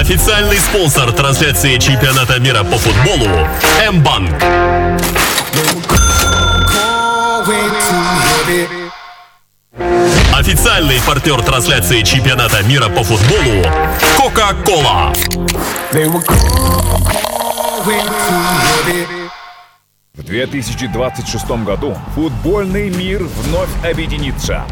Официальный спонсор трансляции чемпионата мира по футболу М-банк. Официальный партнер трансляции чемпионата мира по футболу Кока-Кола. В 2026 году футбольный мир вновь объединится.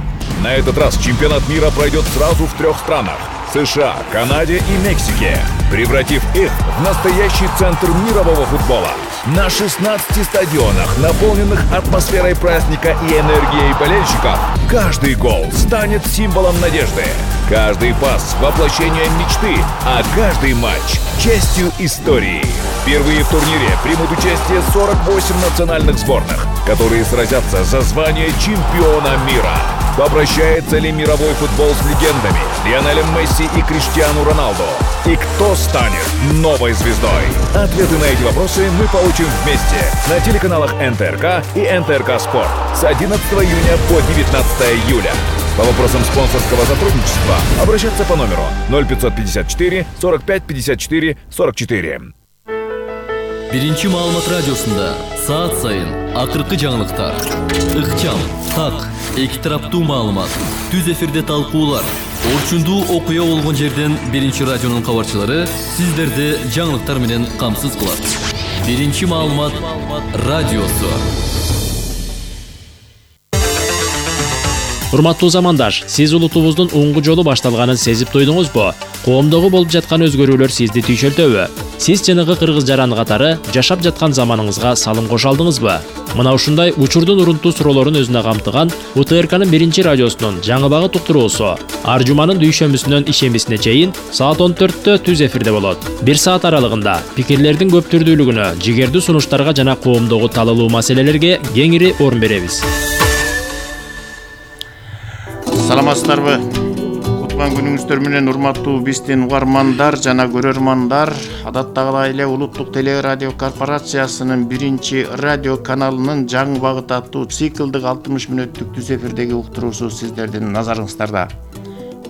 На этот раз чемпионат мира пройдет сразу в 3 странах – США, Канаде и Мексике, превратив их в настоящий центр мирового футбола. На 16 стадионах, наполненных атмосферой праздника и энергией болельщиков, каждый гол станет символом надежды, каждый пас – воплощением мечты, а каждый матч – частью истории. Впервые в турнире примут участие 48 национальных сборных, которые сразятся за звание чемпиона мира. Попрощается ли мировой футбол с легендами Лионелем Месси и Криштиану Роналду? И кто станет новой звездой? Ответы на эти вопросы мы получим вместе на телеканалах НТРК и НТРК Спорт с 11 июня по 19 июля. По вопросам спонсорского сотрудничества обращаться по номеру 0554 45 54 44. Биринчи маалымат радиосунда саат сайын акыркы жаңылыктар, ыкчам, так, эки тараптуу маалымат, түз эфирде талкуулар, орчундуу окуя болгон жерден биринчи радионун кабарчылары сиздерди жаңылыктар менен камсыз кылат. Биринчи маалымат радиосу. Урматтуу замандаш, сиз улутубуздун оңгу жолу башталганын сезип туйдуңузбу? Коомдогу болуп жаткан өзгөрүүлөр сизди түйшөлтөбү? Сиз жанагы кыргыз жаран катары жашап жаткан заманыңызга салым кошо алдыңызбы? Мына ушундай учурдун урунтуу суроолорун өзүнө камтыган УТРКнын биринчи радиосунун жаңы багыт уктуруусу ар жуманын дүйшөмбүсүнөн ишембисине чейин саат 14-тө түз эфирде болот. 1 саат аралыгында пикирлердин көп түрдүүлүгүнө, жигердүү сунуштарга жана коомдогу талалуу маселелерге кеңири орун беребиз. Саламатсыздарбы? Куткан күнүңүздөр менен урматтуу биздин угармандар жана көрөрмандар. Адаттагыдай эле Улуттук телерадио корпорациясынын биринчи радио каналынын жаңы багыт аттуу циклдык 60 мүнөттүк түз эфирдеги уктуруусу сиздердин назарыңыздарда.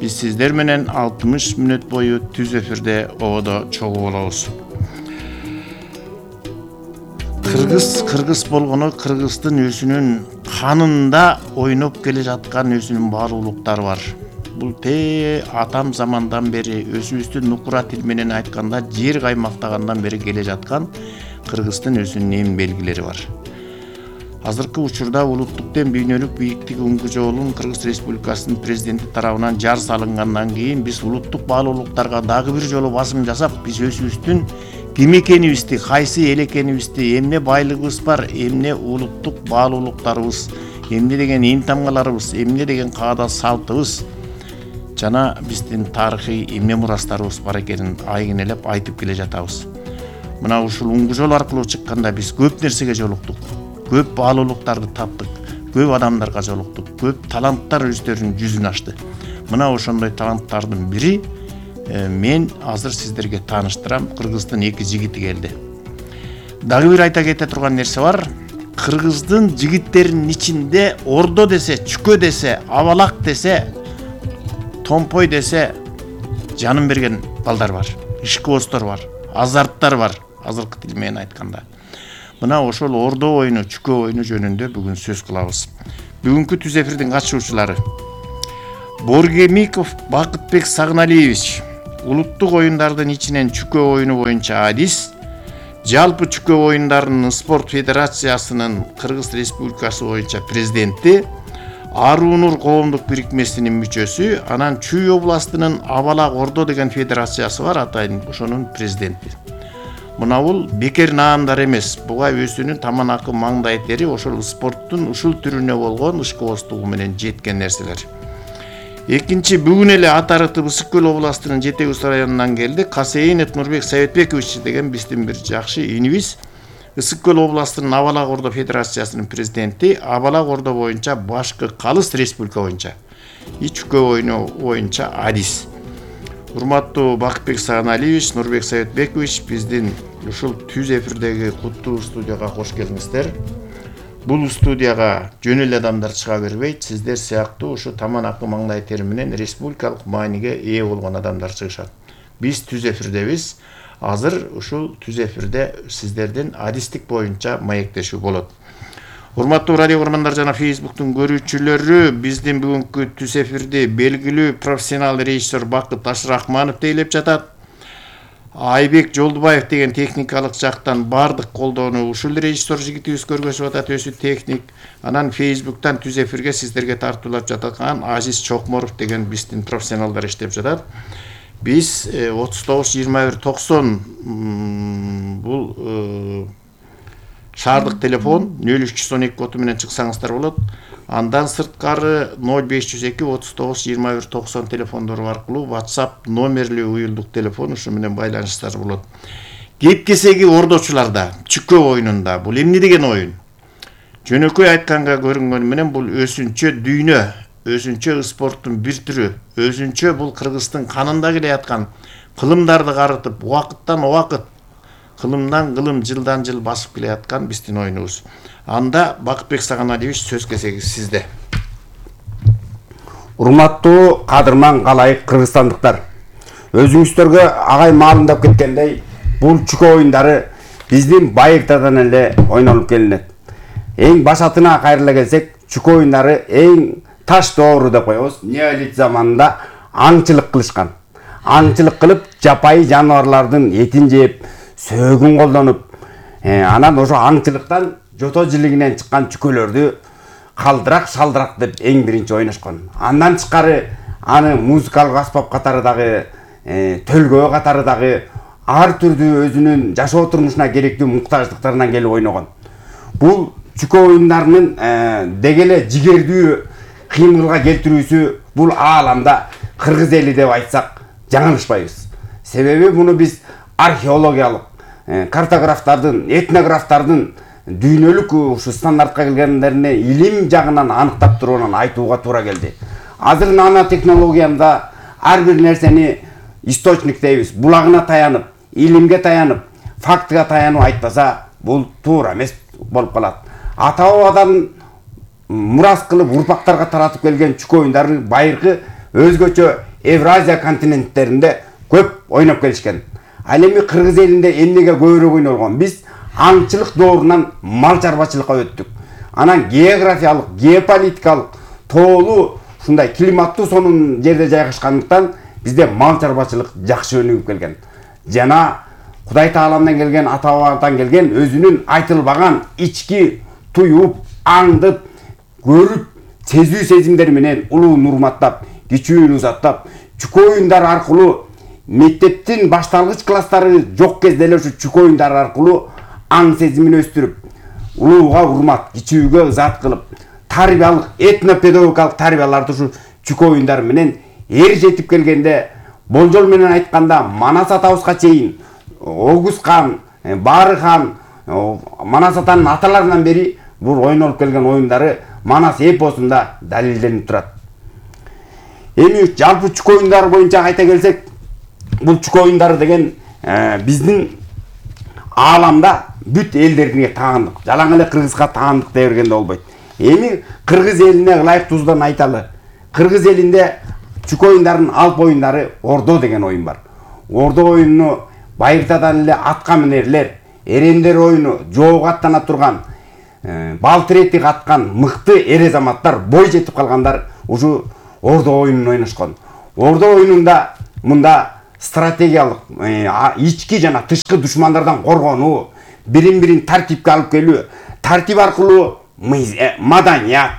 Биз сиздер менен 60 мүнөт бою түз эфирде ободо чогуу болобуз. Кыргыз болгону кыргыздын өзүнүн канында ойноп келе жаткан өзүнүн баалуулуктары бар. Бул атам замандан бери өзүбүздүн нукура тил менен айтканда жер каймактагандан бери келе жаткан кыргыздын өзүнүн эң белгилери бар. Азыркы учурда улуттук дем бүйнөлүк бийиктиги оңгу жолун Кыргыз Республикасынын президенти тарабынан жар салынгандан кийин биз улуттук баалуулуктарга дагы бир жолу басым жасап, биз өзүбүздүн ким экенибизди, кайсы эл экенибизди, эмне байлыгыбыз бар, эмне улуттук баалуулуктарыбыз, эмне деген ин тамгаларыбыз, эмне деген каада салтыбыз жана биздин тарыхый эмне мурастарыбыз бар экенин айгинелеп айтып келе жатабыз. Мына ушул оңгу жол аркылуу чыкканда биз көп нерсеге жолуктук. Көп баалуулуктарды таптык, көп адамдарга жолуктук, көп таланттар өздөрүнүн жүзүн ачты. Мына ошондой таланттардын бири мен азыр сиздерге тааныштырам. Кыргыздын эки жигити келди. Дагы бир айта кете турган нерсе бар. Кыргыздын жигиттеринин ичинде ордо десе, чүкө десе, абалак десе, томпой десе жанын берген балдар бар. Ишкыбоздор бар, азарттар бар, азыркы тил менен айтканда. Мына ошол ордо оюну, чүкө оюну жөнүндө бүгүн сөз кылабыз. Бүгүнкү түз эфирдин катышуучулары: Боргемиков Бакытбек Сагыналиевич, улуттук оюндардын ичинен чүкө оюну боюнча адис, жалпы чүкө оюндарынын спорт федерациясынын Кыргыз Республикасы боюнча президенти, Арунур коомдук бирикмесинин мүчөсү, анан Чүй областынын Абалак Ордо деген федерациясы бар, атайын ошонун президенти. Мына бул бекер наамдар эмес, буга өзүнүн таманакы маңдай тери ошол спорттун ушул түрүнө болгон ышкыбоздугу менен жеткен нерселер. Экинчи, бүгүн эле Атарытып Ысык Көл областынын Жетек Ус районунан келди. Касейинов Нурбек Советбекович деген биздин бир жакшы инибиз. Ысык Көл областынын Абалак Ордо федерациясынын президенти, Абалак Ордо боюнча башкы калыс республика боюнча чүкө оюну боюнча адис. Урматтуу Бакытбек Сагыналиевич, Нурбек Советбекович, биздин ушул түз эфирдеги куттуу студияга кош келиңиздер. Бул студияга жөн эле адамдар чыга бербейт. Сиздер сыяктуу ушу таман акы маңдай тери менен республикалык мааниге ээ болгон адамдар чыгышат. биз түз эфирдебиз. Азыр ушул түз эфирде сиздердин адистик боюнча маектешүү болот. Урматтуу радио көрөрмандар жана Facebooktун көрүүчүлөрү, биздин бүгүнкү түз эфирди белгилүү профессионал режиссер Бакыт Ашрахманов тейлеп жатат. Айбек Жолдубаев деген техникалык жактан бардык колдоону ушул режиссер жигитибиз көргөзүп атат, өзү техник. Анан Facebooktан түз эфирге сиздерге тартуулап жаткан Азиз Чокморов деген биздин профессионалдар иштеп жатат. Биз 39-21-90 бул шаардык телефон 0312 коду менен чыксаңыздар болот. Андан сырткары 0502 39-21-90 телефондору аркылуу WhatsApp номерлүү уюлдук телефон ушу менен байланышсаңыздар болот. Кеп-кесеги ордочуларда, чүкө оюнунда бул эмне деген оюн? Жөнөкөй айтканга көрүнгөнү менен бул өзүнчө дүйнө, өзүнчө спорттун бир түрү, өзүнчө бул Кыргыздын канында келе аткан кылымдарды карытып, убакыттан убакыт, кылымдан кылым, жылдан жыл басып келе аткан биздин оюнубуз. Анда Бакытбек Саганалиевич сөз кезеги сизде. Урматтуу кадырман калайык кыргызстандыктар. Өзүңүздөргө агай маалымдап кеткендей, бул чүкө оюндары биздин байыртадан эле ойнолуп келинет. Эң башатына кайрыла келсек, чүкө оюндары эң таш доору деп коебуз. Неолит заманында аңчылык кылышкан. Аңчылык кылып, жапайы жаныбарлардын этин жеп, сөөгүн колдонуп, анан ошо аңчылыктан жото жилигинен чыккан чүкөлөрдү калдырак, шалдырак деп эң биринчи ойношкон. Андан тышкары аны музыкалык аспап катары дагы, төлгөө катары дагы ар түрдүү өзүнүн жашоо турмушуна керектүү муктаждыктарынан келип ойногон. Бул чүкө оюндарынын дегеле жигердүү кыймылга келтирүүсү бул ааламда кыргыз эли деп айтсак жаңылышпайбыз. Себеби муну биз археологиялык, картографтардын, этнографтардын дүйнөлүк ушу стандартка келгендерине илим жагынан аныктап туруунан айтууга туура келди. Азыр нано технологиямда ар бир нерсени источник дейбиз, булагына таянып, илимге таянып, фактыга таянып айтпаса, бул туура эмес болуп калат. Ата-бабадан мурас кылып урпактарга таратып келген чүкө оюндары байыркы өзгөчө Евразия континенттеринде көп ойноп келишкен. Ал эми кыргыз элинде эмнеге көбүрөөк ойнолгон? Биз аңчылык доорунан мал чарбачылыкка өттүк. Анан географиялык, геополитикалык, тоолуу, ушундай климаттуу сонун жерде жайгашкандыктан бизде мал чарбачылык жакшы өнүгүп келген. Жана Кудай Тааламдан келген, ата-бабадан келген өзүнүн айтылбаган ички туюп, аңдып, көрүп, сезүү сезимдери менен улуун урматтап, кичүүнү узаттап, чүкө оюндары аркылуу мектептин башталгыч класстары жок кезде эле ушу чүкө оюндары аркылуу аң сезимин өстүрүп, улууга урмат, кичүүгө ызат кылып, тарбиялык, этнопедагогикалык тарбияларды ушу чүкө оюндары менен жетип келгенде, болжол менен айтканда Манас атабызга чейин Огуз хан, Бары хан, Манас атанын аталарынан бери бул ойнолуп келген оюндары Манас эпосунда далилденип турат. Эми жалпы чүкө оюндары боюнча айта келсек, бул чүкө оюндары деген биздин ааламда бүт элдерге таандык. Жалаң эле Кыргызга таандык дей бергенде болбойт. Эми Кыргыз элине ылайыктуусунан айталы. Кыргыз элинде чүкө оюндарынын алп оюндары ордо деген оюн бар. Ордо оюнуну байыртадан эле атка минерлер, эрендер оюну, жоого аттана турган, балтырети каткан мыкты эр азаматтар, бой жетип калгандар ушу ордо оюнун ойношкон. Ордо оюнунда мында стратегиялык, ички жана тышкы душмандардан коргонуу, бирин-бирин тартипке алып келүү, тартип аркылуу маданият,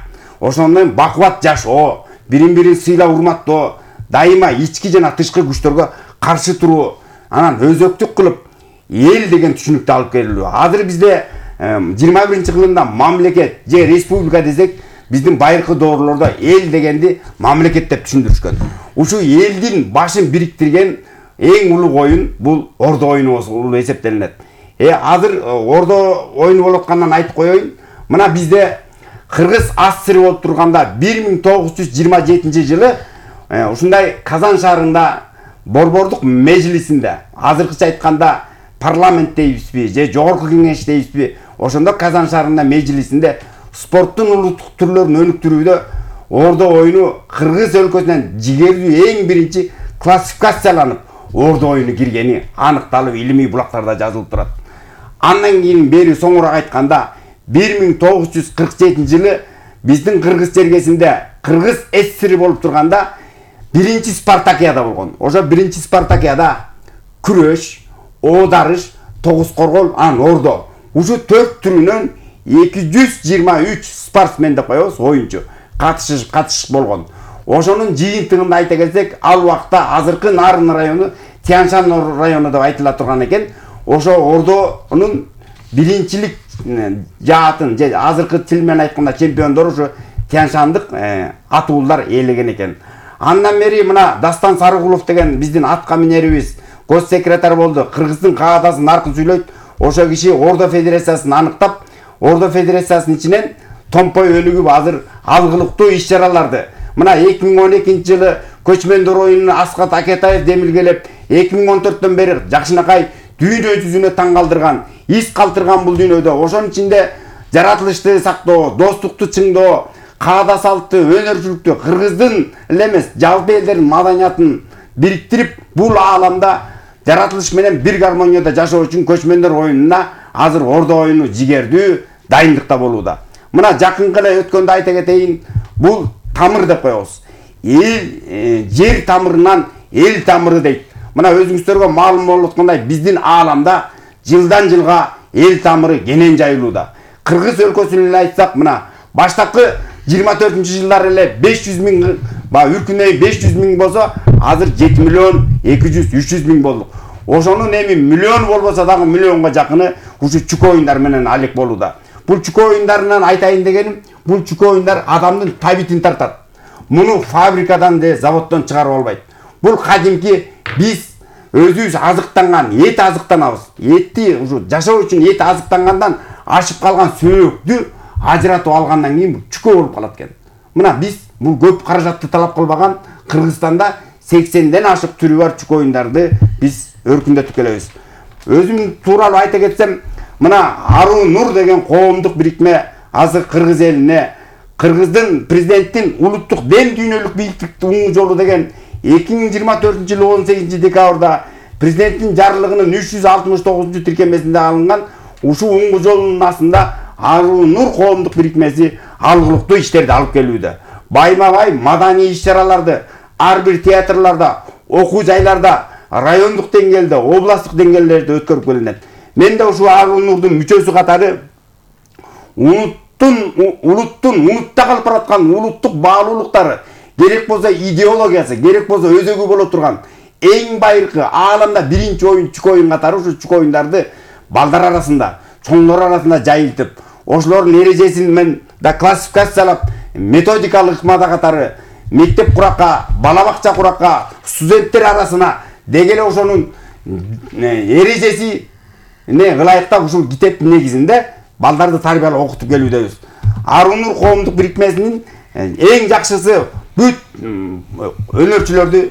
ошондой бакубат жашоо, бирин-бирин сыйлап урматтоо, дайыма ички жана тышкы күчтөргө каршы туруу, анан өзөктүк кылып эл деген түшүнүктү алып келүү. Азыр бизде 21-кылымда мамлекет же республика десек, биздин байыркы доорлордо эл дегенди мамлекет деп түшүндүрүшкөн. Ушу элдин башын бириктирген эң улуу оюн бул ордо оюну болуп эсептелинет. Азыр ордо оюну болуп аткандан айтып коеюн. Мына бизде Кыргыз АССР болуп турганда 1927 жылы ушундай Казан шаарында Борбордук межлисинде, азыркыча айтканда парламент дейбизби же жогорку кеңеш дейбизби, ошондо Казан шаарында межлисинде спорттун улуттук түрлөрүн өнүктүрүүдө ордо оюну Кыргыз өлкөсүнөн жигердүү эң биринчи классификацияланып, Ордо оюну киргени аныкталып илимий булактарда жазылып турат. Андан кийин бери соңураак айтканда 1947 жылы биздин Кыргыз чергесинде Кыргыз ССР болуп турганда биринчи Спартакиада болгон. Ошо биринчи Спартакиада күрөш, оодарыш, тогуз коргол, ордо. Ушу 4 түрүнөн 223 спортсмен деп коебуз, оюнчу катышыш болгон. Ошонун жыйынтыгында айта келсек, ал убакта азыркы Нарын району Тяньшан району деп айтыла турган экен. Ошо ордонун биринчилик жаатын, азыркы тил менен айтканда чемпиондору ушу Тяньшандык атуулдар ээлеген экен. Андан бери мына Дастан Сарыгулов деген биздин атка минерибиз гос секретарь болду. Кыргыздын каадасын наркы сүйлөйт. Ошо киши Ордо федерациясын аныктап, Ордо федерациясынын ичинен Томпой өнүгүп азыр алгылыктуу иш-чараларды мына 2012 жылы көчмөндөр оюнун Аскат Акетаев демилгелеп, 2014төн бери жакшынакай дүйнө жүзүнө таң калтырган, из калтырган бул дүйнөдө. Ошонун ичинде жаратылышты сактоо, достукту чыңдоо, каада салтты, өнөрчүлүктү, Кыргыздын эле эмес, жалпы элдердин маданиятын бириктирип, бул ааламда жаратылыш менен бир гармонияда жашоо үчүн көчмөндөр оюнуна азыр Ордо оюну жигердүү дайындыкта болууда. Мына жакынкы эле өткөндө айта кетейин, бул тамыр деп коебуз. Жер тамырынан эл тамыры дейт. Мына өзүңүздөргө маалым болуп аткандай, биздин ааламда жылдан жылга эл тамыры кенен жайылууда. Кыргыз өлкөсүн эле айтсак, мына баштапкы 24-жылдар эле 500 миң, үркүнөй 500 миң болсо, азыр 7 миллион 200-300 миң болдук. Ошонун эми миллион болбосо дагы миллионго жакыны ушу чүкө оюндар менен алек болууда. Бул чүкө оюндарынан айтайын дегеним, бул чүкө оюндар адамдын табитин тартат. Муну фабрикадан же заводдон чыгарып албайт. Бул кадимки биз өзүбүз азыктанган, эт азыктанабыз. Этти ушу жашоо үчүн эт азыктангандан ашып калган сөөктү ажыратып алгандан кийин чүкө болуп калат экен. Мына биз бул көп каражатты талап кылбаган Кыргызстанда 80ден ашык түрү бар чүкө оюндарды биз өркүндөтүп келебиз. Өзүм тууралуу айта кетсем, мына Аруу Нур деген коомдук бирикме азыр Кыргыз элине Кыргыздын президенттин улуттук дем дүйнөлүк бийликтик уң жолу деген 2024-жылы 18-декабрда президенттин жарлыгынын 369 тиркемесинде алынган ушу уң жолунун астында Аруу Нур коомдук бирикмеси алгылыктуу иштерди алып келүүдө. Байма-бай маданий иш-чараларды ар бир театрларда, окуу жайларда, райондук деңгээлде, областтык деңгээлдерде өткөрүп келинет. Мен да ушу Аруу Нурдун мүчөсү катары улуттун унутта калып бараткан улуттук баалуулуктары, керек болсо идеологиясы, керек болсо өзөгү боло турган эң байыркы ааламда биринчи оюн чүкө оюн катары ушу чүкө оюндарды балдар арасында, чоңдор арасында жайылтып, ошолордун эрежесин мен да классификациялап, методикалык ыкмада катары мектеп куракка, бала бакча куракка, студенттер арасына дегеле ошонун эрежесине ылайыктап ушул китептин негизинде балдарды тарбиялап окутуп келүүдөбүз. Аруу Нур коомдук бирикмесинин эң жакшысы бүт өнөрчүлөрдү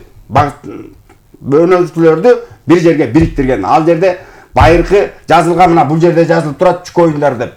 бир жерге бириктирген. Ал жерде байыркы жазылган, мына бул жерде жазылып турат чүкө оюндар деп.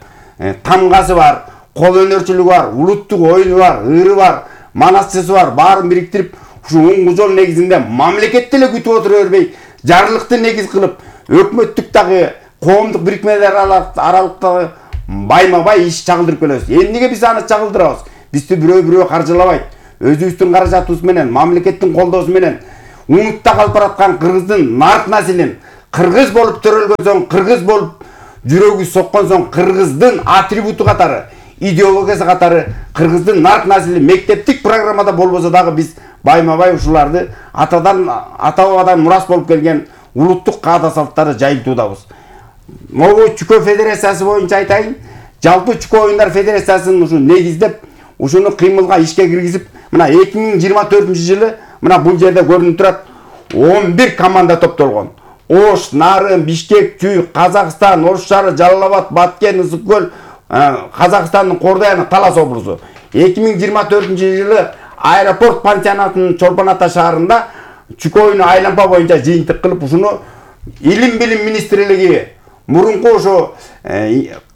Тамгасы бар, кол өнөрчүлүгү бар, улуттук оюну бар, ыры бар, манасчысы бар, баарын бириктирип, ушу уң жол негизинде мамлекетти эле күтүп отура бербей, жарлыкты негиз кылып, өкмөттүк дагы коомдук бирикмелер аралыктагы байма-бай иш чагылдырып келебиз. Эмнеге биз аны чагылдырабыз? Бизди бирөө каржылабайт. Өзүбүздүн каражатыбыз менен, мамлекеттин колдоосу менен унутта калып бараткан Кыргыздын нарк населин, кыргыз болуп төрөлгөн соң, кыргыз болуп жүрөгү соккон соң, кыргыздын атрибуту катары, идеологиясы катары кыргыздын нарк насели мектептик программада болбосо дагы биз байма-бай ушуларды ата-бабадан мурас болуп келген улуттук каада салттарды жайылтуудабыз. Могу чүкө федерациясы боюнча айтайын, жалпы чүкө оюндар федерациясын ушу негиздеп, ушуну кыймылга ишке киргизип, мына 2024-жылы мына бул жерде көрүнүп турат 11 команда топтолгон. Ош, Нарын, Бишкек, Чүй, Казакстан, Ош шаары, Жалал Абад, Баткен, Ысык-Көл, Казакстандын Кордой, Талас облусу. 2024-жылы аэропорт пансионатынын Чолпон Ата шаарында чүкө оюну айлампа боюнча жыйынтык кылып, ушуну Илим билим министрлиги мурунку ошо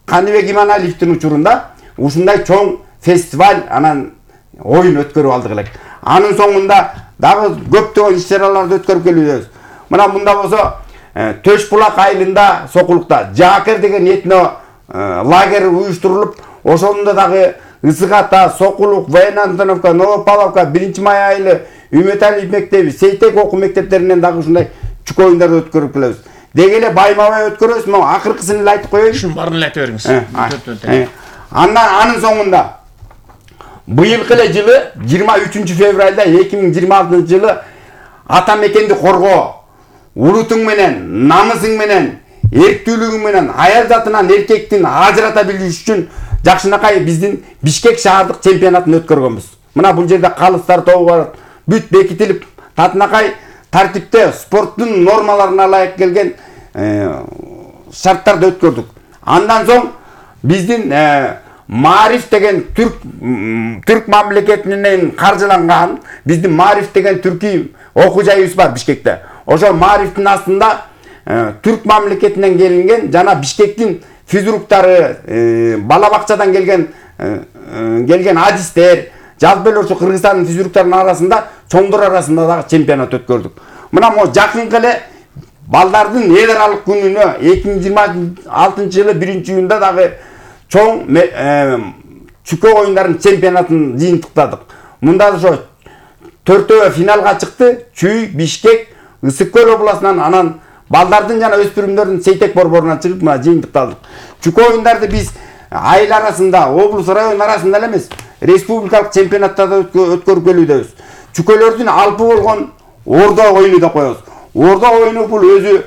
Каныбек Иманалиевдин учурунда ушундай чоң фестиваль анан оюн өткөрүп алдык элек. Анын соңунда дагы көптөгөн иш-чараларды өткөрүп келүүдөбүз. Мына мында болсо Төш булак айылында Сокулукта Жаакер деген этно лагерь уюштурулуп, ошондо дагы Ысык Ата, Сокулук, Военно-Антоновка, Новопавловка, 1-май айылы, Үмөталиев мектеби, Сейтек окуу мектептеринен дагы ушундай чүкө оюндарды өткөрүп келебиз. Деги эле Баймабай өткөрөбүз, могу акыркысын эле айтып коеюн. Ушун баарын эле айта бериңиз. Анын соңунда быйылкы эле жылы 23 февралда 2026 жылы ата мекенди коргоо, улутуң менен, намысың менен, эрктүүлүгүң менен аял затынан эркектин ажырата билиш үчүн жакшынакай биздин Бишкек шаардык чемпионатын өткөргөнбүз. Мына бул жерде калыстар тобу бар, бүт бекитилип, татынакай тартипте спорттун нормаларына ылайык келген шарттарды өткөрдүк. Андан соң биздин Маариф деген түрк мамлекетинен каржыланган биздин Маариф деген түркүй окуу жайыбыз бар Бишкекте. Ошо Маарифтин астында түрк мамлекетинен келинген жана Бишкектин физруктары, бала бакчадан келген адистер, жалпы эле ошо Кыргызстандын физруктарынын арасында, чоңдор арасында дагы чемпионат өткөрдүк. Мына могу жакынкы эле балдардын эл аралык күнүнө 2026 жылы 1-июнда дагы чоң чүкө оюндарын чемпионатын жыйынтыктадык. Мында ошо 4-өө финалга чыкты. Чүй, Бишкек, Ысык Көл областынан, анан балдардын жана өспүрүмдөрдүн Сейтек борборунан чыгып мына жыйынтыкталдык. Чүкө оюндарды биз айыл арасында, облус, район арасында эле эмес, республикалык чемпионаттарда өткөрүп келүүбүз. Чүкөлөрдүн алпы болгон ордо оюну деп коебуз. Ордо оюну бул өзү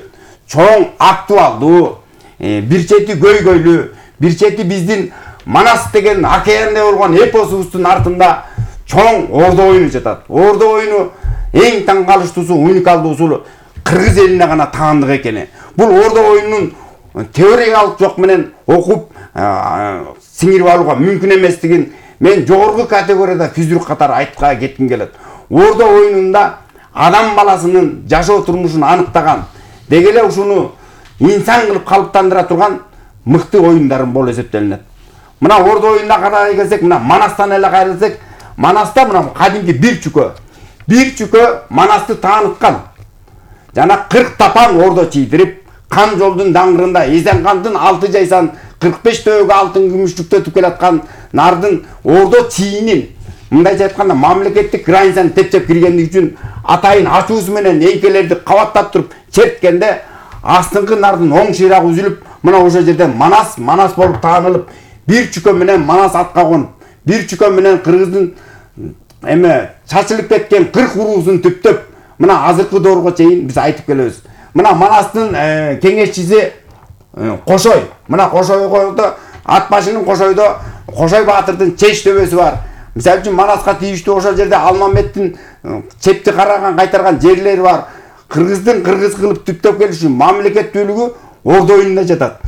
чоң актуалдуу, бир чети көйгөйлүү, бир чети биздин Манас деген океанде болгон эпосубуздун артында чоң ордо оюну жатат. Ордо оюну эң таң калыштуусу, уникалдуусу Кыргыз элине гана таандык экени. Бул ордо оюнунун теориялык жок менен окуп сиңирип алууга мүмкүн эместигин мен жогорку категорияда физрук катары айткыга кетким келет. Ордо оюнунда адам баласынын жашоо турмушун аныктаган, деги эле ушуну инсан кылып калыптандыра турган мыкты оюндарын болуп эсептелинет. Мына ордо оюнуна карай келсек, мына Манастан эле кайрылсак, Манаста мына кадимки бир чүкө Манасты тааныткан. Жана 40 тапан ордо чийдирип, Кан жолдун даңгырында Эзенкандын 6 жайсан 45 төөгө алтын күмүштүктөтүп келаткан нардын ордо чийинин, мындайча айтканда мамлекеттик границаны тепчеп киргендиги үчүн атайын ачуусу менен эйкелерди кабаттап туруп черткенде астыңкы нардын оң шыйрагы үзүлүп, мына ошол жерден Манас болуп таанылып, бир чүкө менен Манас атка конуп, бир чүкө менен Кыргыздын чачылып кеткен 40 уруусун түптөп, мына азыркы доорго чейин биз айтып келебиз. Мына Манастын кеңешчиси Кошой. Мына Кошойдо ат башынын Кошойдо Кошой баатырдын чеч төбөсү бар. Мисалы үчүн Манаска тийиштүү ошол жерде Алмаметтин чепти караган кайтарган жерлери бар. Кыргыздын кыргыз кылып түптөп келиш үчүн мамлекеттүүлүгү ордо оюнунда жатат.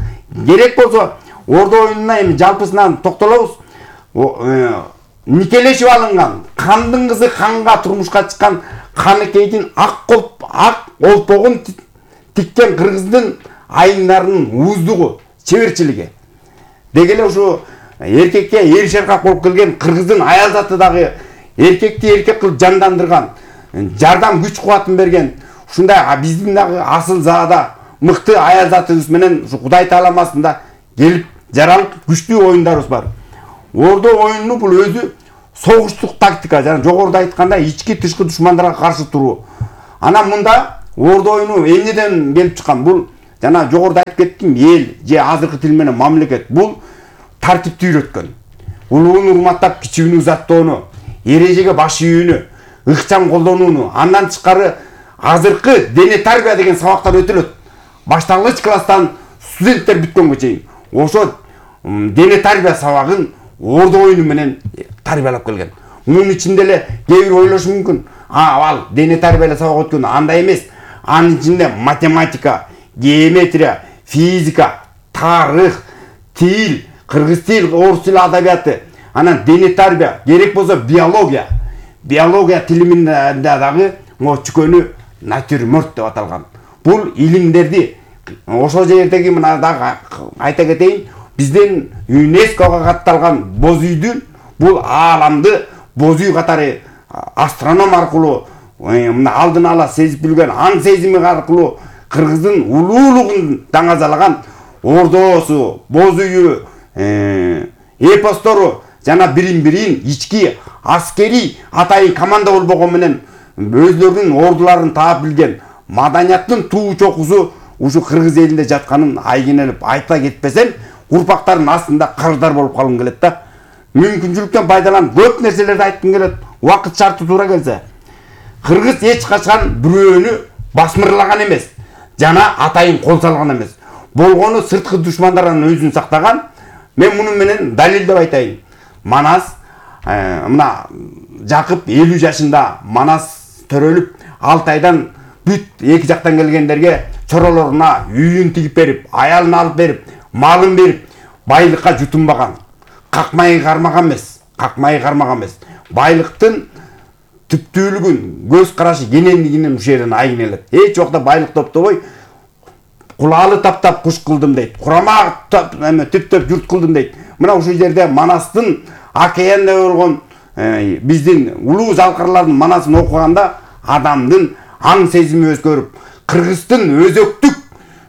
Керек болсо ордо оюнуна эми жалпысынан токтолобуз. Никелешип алынган, кандын кызы канга турмушка чыккан Каныкейдин ак олпогун тиккен Кыргыздын айымдарынын ууздугу, чеберчилиги. Деги эле ушу эркекке эр шаркак болуп келген Кыргыздын аял заты дагы эркекти эркек кылып жандандырган, жардам күч кубатын берген, ушундай биздин дагы асыл заада мыкты аял затыбыз менен ушу Кудай Таалам астында келип жаралып күчтүү оюндарыбыз бар. Ордо оюну бул өзү согуштук тактика, жана жогоруда айткандай ички тышкы душмандарга каршы туруу. Анан мында ордо оюну эмнеден келип чыккан? Бул жана жогоруда айтып кеттим, эл же азыркы тил менен мамлекет бул тартипти үйрөткөн. Улууну урматтап кичүүнү узаттоону, эрежеге баш ийүүнү, ыкчам колдонууну, андан тышкары азыркы дене тарбия деген сабактар өтүлөт. Башталгыч класстан студенттер бүткөнгө чейин ошо дене тарбия сабагын ордо оюну менен тарбиялап келген. Мунун ичинде эле кээ бир ойлошу мүмкүн. Ал дене тарбия сабак өткөн, андай эмес. Анын ичинде математика, геометрия, физика, тарых, тил, кыргыз тил, орус тили адабияты, анан дене тарбия, керек болсо биология. Биология тилиминде дагы чүкөнү натюрморт деп аталган. Бул илимдерди ошол жердеги мына дагы айта кетейин, биздин ЮНЕСКОга катталган боз үйдүн бул ааламды боз үй катары астроном аркылуу мына алдын ала сезип билген аң сезими аркылуу кыргыздын улуулугун даңазалаган ордосу, боз үйү, эпостору жана бирин ички аскери атайын команда болбогон менен өзлөрүнүн ордуларын таап билген маданияттын туу чокусу ушу кыргыз элинде жатканын айгинелеп айта кетпесем, урпактардын астында кардар болуп калгым келет да. Мүмкүнчүлүктөн пайдаланып көп нерселерди айткым келет. Убакыт шарты туура келсе. Кыргыз эч качан бирөөнү басмырлаган эмес, жана атайын кол салган эмес. Болгону сырткы душмандардан өзүн сактаган. Мен муну менен далилдеп айтайын. Манас мына Жакып 50 жашында Манас төрөлүп, 6 айдан бүт эки жактан келгендерге чоролоруна үйүн тигип берип, аялын алып берип, малын берип, байлыкка жутунбаган. Какмай кармаган эмес. Байлыктын түптүүлүгүн, көз карашы кенендигинен ушул жерден айгинелет. Эч убакта байлык топтобой, кулаалы таптап куш кылдым дейт. Курама түптөп журт кылдым дейт. Мына ушул жерде Манастын океанда болгон биздин улуу залкарлардын Манасын окуганда адамдын аң сезими өзгөрүп, Кыргыздын өзөктүк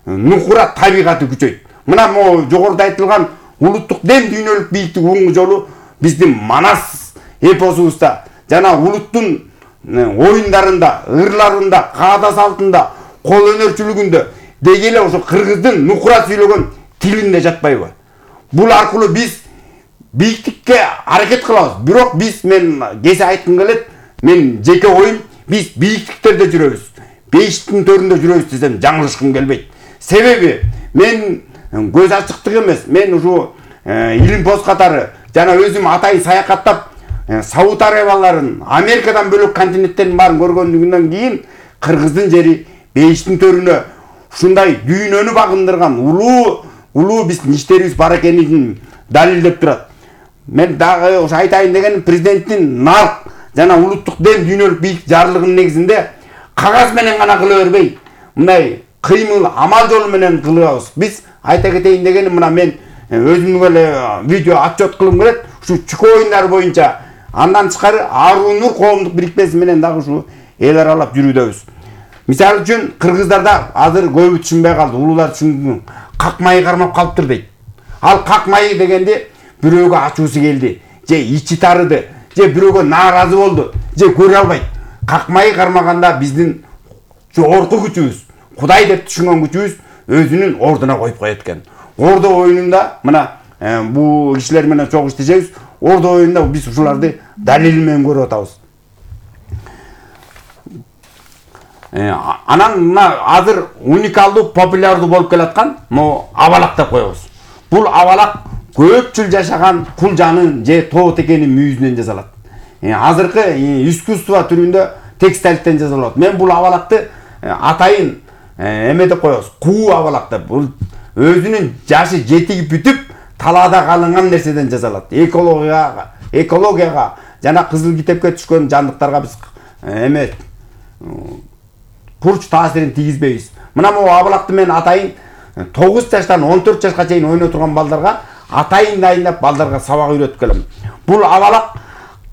нукура табигаты күчөйт. Мына жогоруда айтылган улуттук дем дүйнөлүк бийиктик уңгу жолу биздин Манас эпосубузда жана улуттун оюндарында, ырларында, каада салтында, кол өнөрчүлүгүндө деги эле ошо кыргыздын нукура сүйлөгөн тилинде жатпайбы? Бул аркылуу биз бийиктикке аракет кылабыз. Бирок мен кесе айткым келет, мен жеке оюм, биз бийиктиктерде жүрөбүз. Бейиштин төрүндө жүрөбүз десем жаңылышкым келбейт. Себеби мен көз ачыктык эмес, мен ушу Илимпоз катары жана өзүм атайын саякаттап Сауд Арабияларын, Америкадан бөлөк континенттердин баарын көргөндүгүнөн кийин Кыргыздын жери бейиштин төрүнө ушундай дүйнөнү багындырган улуу биздин иштерибиз бар экенин далилдеп турат. Мен дагы ошо айтайын дегеним, президенттин нарк жана улуттук дем дүйнөлүк бийиктик жарлыгынын негизинде кагаз менен гана кыла бербей, мындай кыймыл амал жолу менен кылабыз. Биз айта кетейин дегеним, мына мен өзүмдүн эле видео отчет кылгым келет. Ушу чүкө оюндар боюнча андан тышкары Арунур коомдук бирикмеси менен дагы ушу эл аралап жүрүүдөбүз. Мисалы үчүн кыргыздарда азыр көбү түшүнбөй калды, улуулар түшүнгөн, какмайы кармап калыптыр дейт. Ал какмайы дегенде бирөөгө ачуусу келди, же ичи тарыды, же бирөөгө нааразы болду, же көрө албайт. Какмайы кармаганда биздин жогорку күчүбүз, Кудай деп түшүнгөн күчүбүз өзүнүн ордуна коюп коет экен. Ордо оюнунда мына бул кишилер менен чогуу иштешебиз. Ордо оюнунда биз ушуларды далили менен көрүп атабыз. Анан мына азыр уникалдуу, популярдуу болуп келаткан абалак деп коебуз. Бул абалак көп жыл жашаган кулжанын же тоо текенин мүйүзүнөн жасалат. Азыркы искусство түрүндө текстилиттен жасалат. Мен бул абалакты атайын эме деп коебуз, куу абалак деп. Бул өзүнүн жашы жетиги бүтүп, талаада калынган нерседен жасалат. Экологияга жана кызыл китепке түшкөн жандыктарга биз эме курч таасирин тийгизбейбиз. Мына могу абалакты мен атайын 9 жаштан 14 жашка чейин ойноо турган балдарга атайын дайындап балдарга сабак үйрөтүп келем. Бул абалак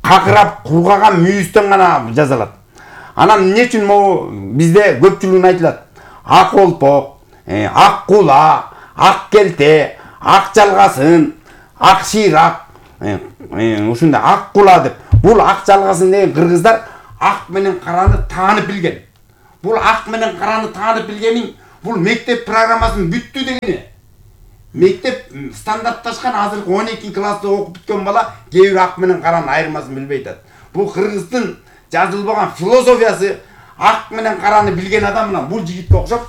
какырап кургаган мүйүздөн гана жасалат. Анан эмне үчүн могу бизде көпчүлүгүн айтылат? Ак олпок, ак кула, ак келте, ак жалгасын, ак шыйрак, ушундай ак кула деп. Бул ак жалгасын деген кыргыздар ак менен караны таанып билген. Бул ак менен караны таанып билгенин бул мектеп программасын бүттү дегени. Мектеп стандартташкан азыркы 12 класста окуп бүткөн бала кээ бир ак менен каранын айырмасын билбей атат. Бул кыргыздын жазылбаган философиясы. Ак менен караны билген адам мына бул жигитке окшоп,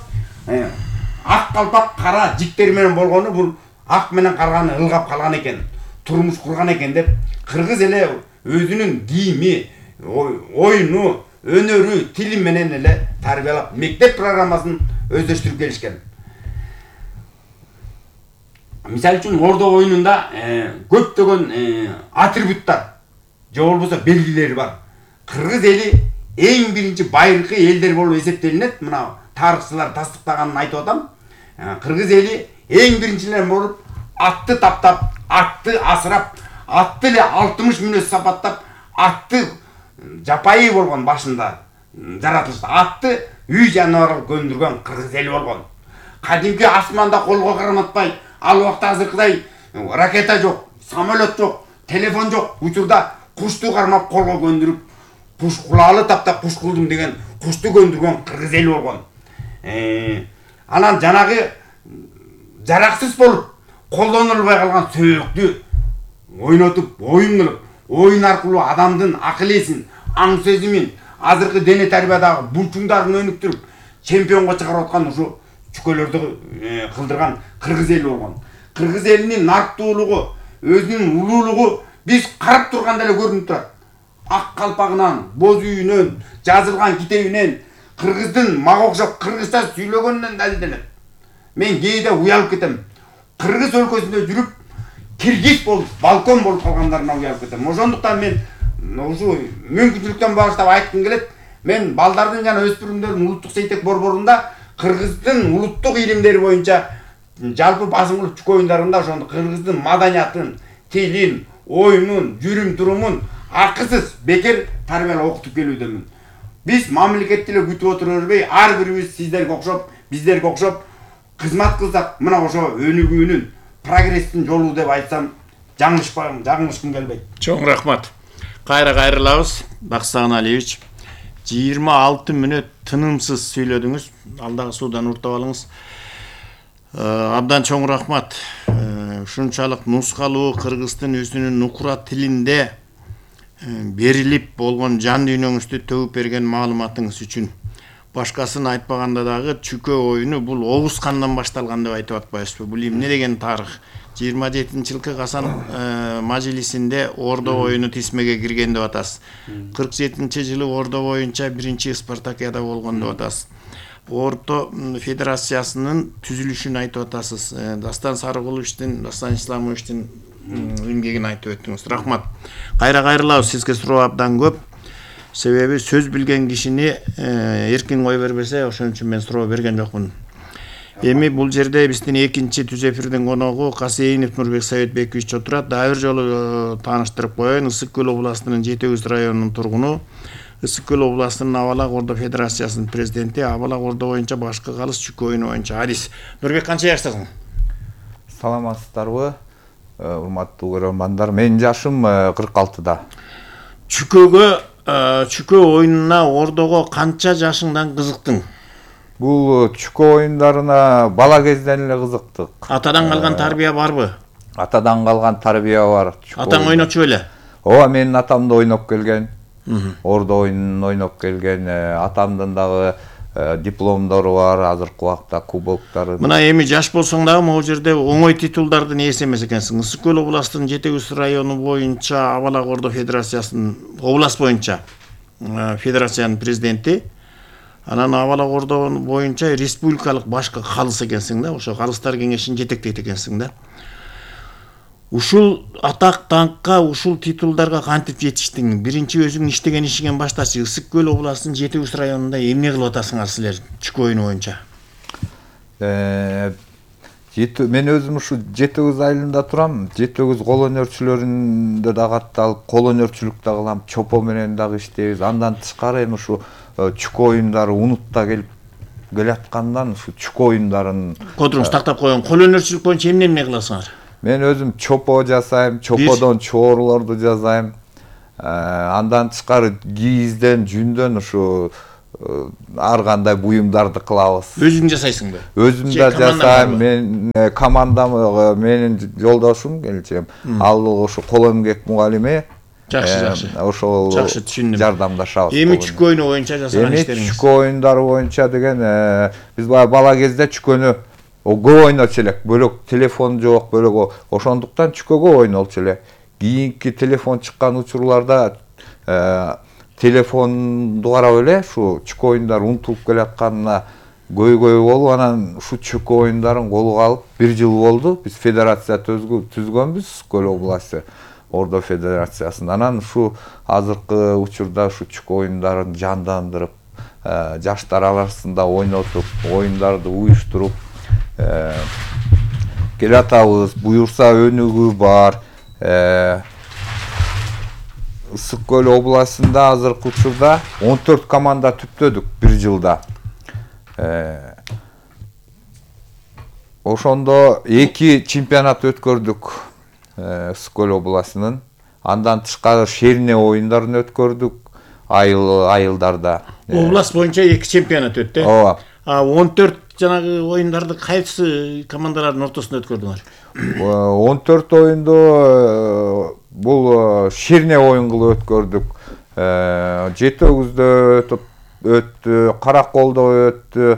ак калпак кара жиктер менен болгону бул ак менен караны ылгап калган экен, турмуш курган экен деп кыргыз эле өзүнүн кийими, оюну, өнөрү, тили менен эле тарбиялап мектеп программасын өздөштүрүп келишкен. Мисалы үчүн ордо оюнунда көптөгөн атрибуттар же болбосо белгилери бар. Кыргыз эли эң биринчи байыркы элдер болуп эсептелинет. Мына тарыхчылар тастыктаганын айтып атам. Кыргыз эли эң биринчилер болуп атты таптап, атты асырап, атты эле 60 мүнөз сапаттап, атты жапайы болгон башында жаратылышты. Атты үй жаныбарга көндүргөн кыргыз эли болгон. Кадимки асманда колго карматпай, ал убакта азыркыдай ракета жок, самолет жок, телефон жок. Учурда кушту кармап колго көндүрүп, куш кулаалы таптап куш кылдым деген кушту көндүргөн кыргыз эли болгон. Анан жанагы жараксыз болуп колдонулбай калган сөйөктү ойнотуп, оюн кылып, оюн аркылуу адамдын акыл эсин, аң сезимин, азыркы дене тарбиядагы булчуңдарын өнүктүрүп, чемпионго чыгарып аткан ушу чүкөлөрдү кылдырган кыргыз эли болгон. Кыргыз элинин нарктуулугу, өзүнүн улуулугу биз карап турганда эле көрүнүп турат. Ак калпагынан, боз үйүнөн, жазылган китебинен, кыргыздын мага окшоп кыргызча сүйлөгөнүнөн далилденет. Мен кээде уялып кетем. Кыргыз өлкөсүндө жүрүп, киргиз болуп, балкон болуп калгандарына уялып кетем. Ошондуктан мен ушу мүмкүнчүлүктөн баштап айткым келет. Мен балдардын жана өспүрүмдөрдүн улуттук сейтек борборунда кыргыздын улуттук илимдери боюнча жалпы басым кылып чүкө оюндарында ошондо кыргыздын маданиятын, тилин, оюнун, жүрүм турумун акысыз бекер тарбиялап окутуп келүүдөмүн. Биз мамлекетти эле күтүп отура бербей, ар бирибиз сиздерге окшоп, биздерге окшоп кызмат кылсак, мына ошо өнүгүүнүн, прогресстин жолу деп айтсам, жаңылышкым келбейт. Чоң рахмат. Кайра кайрылабыз, Баксаган Алиевич. 26 мүнөт тынымсыз сүйлөдүңүз. Алдагы суудан уртап алыңыз. Абдан чоң рахмат. Ушунчалык нускалуу кыргыздын өзүнүн нукура тилинде берилип болгон жан дүйнөңүздү төгүп берген маалыматыңыз үчүн. Башкасын айтпаганда дагы чүкө оюну бул Оғуз хандан башталган деп айтып атпайбызбы? Бул эмне деген тарых? 27-жылкы Касан мажилисинде Ордо оюну тисмеге кирген деп атасыз. 47-жылы Ордо боюнча биринчи Спартакиада болгон деп атасыз. Орто федерациясынын түзүлүшүн айтып атасыз. Дастан Сарыгуловичтин, Дастан Исламовичтин эмгегин айтып өттүңүз. Рахмат. Кайра кайрылабыз, сизге суроо абдан көп. Себеби сөз билген кишини эркин кой бербесе, ошон үчүн мен суроо берген жокмун. Эми бул жерде биздин экинчи түз эфирдин коногу Касейинов Нурбек Советбекович отурат. Дагы бир жолу тааныштырып коеюн. Ысык көл областынын Жети Көз районунун тургуну, Ысык көл областынын Абалак Ордо Федерациясынын президенти, Абалак Ордо боюнча башкы калыс чүкө оюну боюнча адис. Нурбек, канча жаштасың? Саламатсыздарбы, урматтуу көрөрмандар. Менин жашым 46-да. Чүкө оюнуна Ордого канча жашыңдан кызыктың? Бул чүкө оюндарына бала кезден эле кызыктык. Атадан калган тарбия барбы? Атадан калган тарбия бар. Атаң ойночу беле? Ооба, менин атам да ойноп келген. Ордо оюнун ойноп келген. Атамдын дагы дипломдору бар, азыркы убакта кубоктары. Мына эми жаш болсоң дагы могу жерде оңой титулдардын ээси эмес экенсиң. Ысык көл областынын Жети Көз району боюнча Абалак Ордо Федерациясынын област боюнча федерациянын президенти, анан Абалак Ордо боюнча республикалык башкы калыс экенсиң да, ошо калыстар кеңешин жетектейт экенсиң да. Ушул атак даңкка, ушул титулдарга кантип жетиштиң? Биринчи өзүң иштеген ишиңен баштачы. Ысык көл областынын Жети Көз районунда эмне кылып атасыңар силер чүкө оюну боюнча? Мен өзүм ушу Жети Көз айылында турам. Жети Көз кол өнөрчүлөрүндө да катталып, кол өнөрчүлүк да кылам, чопо менен дагы иштейбиз. Андан тышкары эми ушу чүкө оюндары унутта келаткандан ушу чүкө оюндарын Кодуруңуз тактап койгон. Кол өнөрчүлүк боюнча эмне кыласыңар? Мен өзүм чопо жасайм, чоподон чоорлорду жасайм. Андан тышкары кийизден, жүндөн ушу ар кандай буюмдарды кылабыз. Өзүң жасайсыңбы? Өзүм да жасайм. Мен командам, менин жолдошум, келчем. Ал ушу кол эмгек мугалими. Жакшы. Ошол жакшы түшүндүм. Жардамдашабыз. Эми чүкө оюну боюнча жасаган иштериңиз? Чүкө оюндары боюнча деген биз бала кезде чүкөнү көп ойночу элек. Бөлөк телефон жок, бөлөк ошондуктан чүкөгө ойнолчу элек. Кийинки телефон чыккан учурларда телефонду карап эле ушу чүкө оюндар унутулуп келатканына көйгөй болуп, анан ушу чүкө оюндарын колго алып 1 жыл болду. Биз федерация түзгөнбүз, Көл областы Ордо федерациясын. Анан ушу азыркы учурда ушу чүкө оюндарын жандандырып, жаштар арасында ойнотуп, оюндарды уюштуруп келатабыз. Буюрса өнүгүү бар. Ысык Көл областында азыркы учурда 14 команда түптөдүк бир жылда. Ошондо 2 чемпионат өткөрдүк Ысык Көл областынын. Андан тышкары шерне оюндарын өткөрдүк айылдарда. Область боюнча 2 чемпионат өттү. Ооба. 14 жанагы оюндарды кайсы командалардын ортосунда өткөрдүңөр? 14 оюнду бул шерне оюн кылып өткөрдүк. Жетөөгүздө өттү, Караколдо өттү,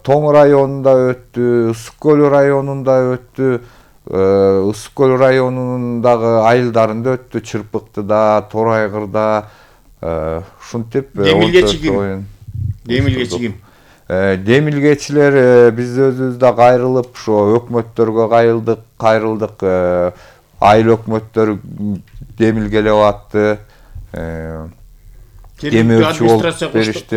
Тоң районунда өттү, Ысык Көл районунда өттү, Ысык Көл районундагы айылдарында өттү, Чырпыктыда, Торайгырда, ушинтип 14 оюн. Демилгечи ким? Демилгечилер биз өзүбүздө кайрылып, ошо өкмөттөргө кайрылдык, айыл өкмөттөр демилгелеп атты. Демөөрчү болуп беришти.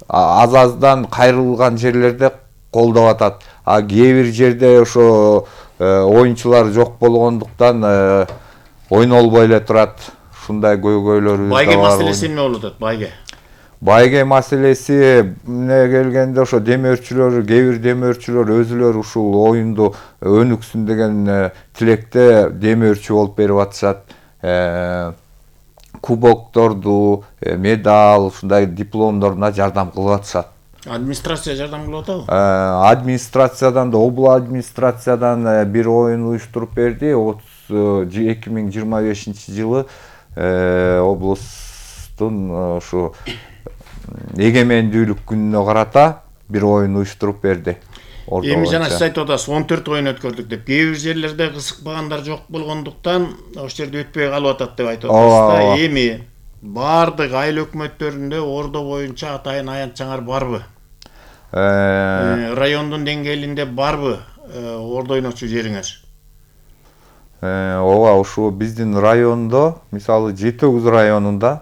Аз-аздан кайрылган жерлерде колдоп атат. Кээ бир жерде ошо оюнчулар жок болгондуктан ойнолбой эле турат. Ушундай көйгөйлөрүбүз да бар. Байге маселеси эмне болуп атат, байге? Байге маселеси келгенде ошо демөөрчүлөр, кээ бир демөөрчүлөр өзүлөрү ушул оюнду өнүксүн деген тилекте демөөрчү болуп берип атышат. Кубокторду, медаль, ушундай дипломдоруна жардам кылып атышат. Администрация жардам кылып атабы? Администрациядан да, обул администрациядан бир оюн уюштуруп берди. 2025-жылы облустун ушу эгемендүүлүк күнүнө карата бир оюн уюштуруп берди. Эми жана сиз айтып атасыз 14 оюн өткөрдүк деп. Кээ бир жерлерде кызыкпагандар жок болгондуктан ошол жерде өтпөй калып атат деп айтып атасыз. Эми баардык айыл өкмөттөрүндө Ордо боюнча атайын аянтчаңар барбы? Райондун деңгээлинде барбы ордо ойночу жериңер? Ооба, ушу биздин райондо, мисалы Жетөөгүз районунда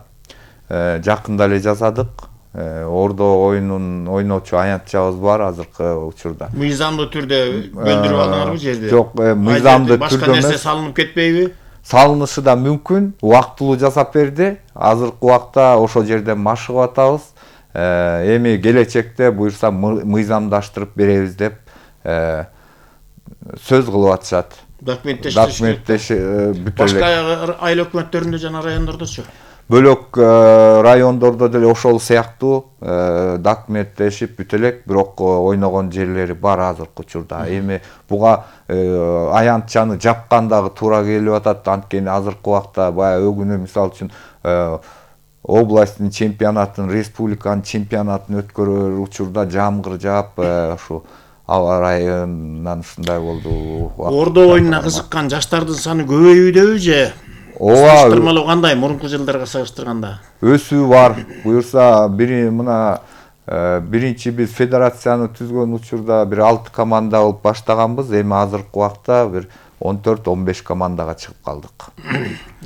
жакында эле жасадык. Ордо оюнун ойночу аянтчабыз бар азыркы учурда. Мыйзамдуу түрдө бөлдүрүп алдыңарбы жерди? Жок, мыйзамдуу түрдө башка нерсе салынып кетпейби? Салынышы да мүмкүн, убактылуу жасап берди. Азыркы убакта ошол жерден машыгып атабыз. Эми келечекте буюрса мыйзамдаштырып беребиз деп сөз кылып атышат. Документтешип башка айыл өкмөттөрүндө жана райондордочу? Бөлөк райондордо деле ошол сыяктуу документтешип бүт элек, бирок ойногон жерлери бар азыркы учурда. Эми буга аянтчаны жапкан дагы туура келип атат. Анткени азыркы убакта баягы өгүнү мисалы үчүн областтын чемпионатын, республиканын чемпионатын өткөрөр учурда жамгыр жаап, ушу аба ырайынан ушундай болду. Ордо оюнуна кызыккан жаштардын саны көбөйүүдөбү же? Ооба. Салыштырмалуу кандай мурунку жылдарга салыштырганда? Өсүү бар. Буюрса биринчи биз федерацияны түзгөн учурда бир 6 команда болуп баштаганбыз. Эми азыркы убакта бир 14-15 командага чыгып калдык.